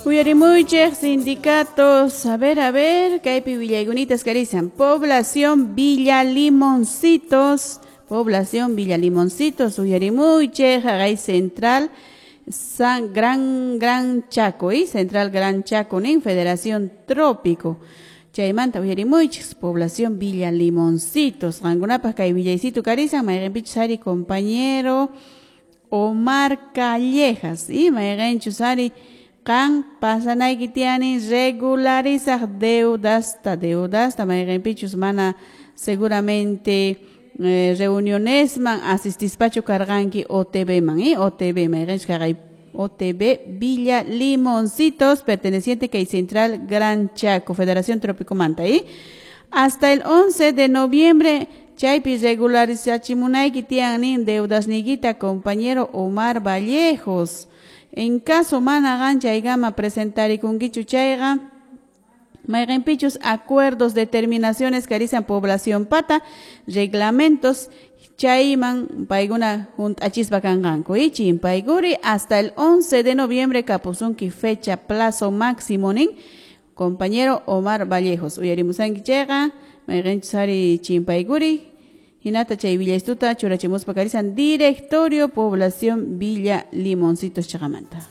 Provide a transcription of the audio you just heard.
Uyarimuychik sindicatos, a ver, kaypi willaykunitas karisan. Población Villa Limoncitos, población Villa Limoncitos, uyarimuychik, haqay Central San Gran Chaco, y Central Gran Chaco nin Federación Trópico. Chaymanta uyarimuychik, población Villa Limoncitos. Qankunapaq kay willaysitu karisan, mayqinpichus ari compañero Omar Callejas, y mayqinchus ari qan pasanayki tiyani regularizaq deudasta mayqinpichus mana seguramente reunionesman asistispachu karqanki OTB man, OTB mayqinchus kaqay OTB Villa Limoncitos, perteneciente kay Central Gran Chaco, Federación Trópico Manta, hasta el 11 de noviembre chaypi regularizachimunayki tiyan nin deudasniykita compañero Omar Vallejos. En caso mana qan chaykama presentarikunkichu chayqa mayqinpichus acuerdos, determinaciones karisan población pata, reglamentos chayman paykuna hunt'achispa kanqanku, chimpaykuri hasta el 11 de noviembre kapusunki fecha plazo máximo nin compañero Omar Vallejos. Uyarimusanki chayqa mayqinchus ari chimpaykuri hinata chay willaystuta churachimuspa karisan Directorio Población Villa Limoncitos chaqamanta.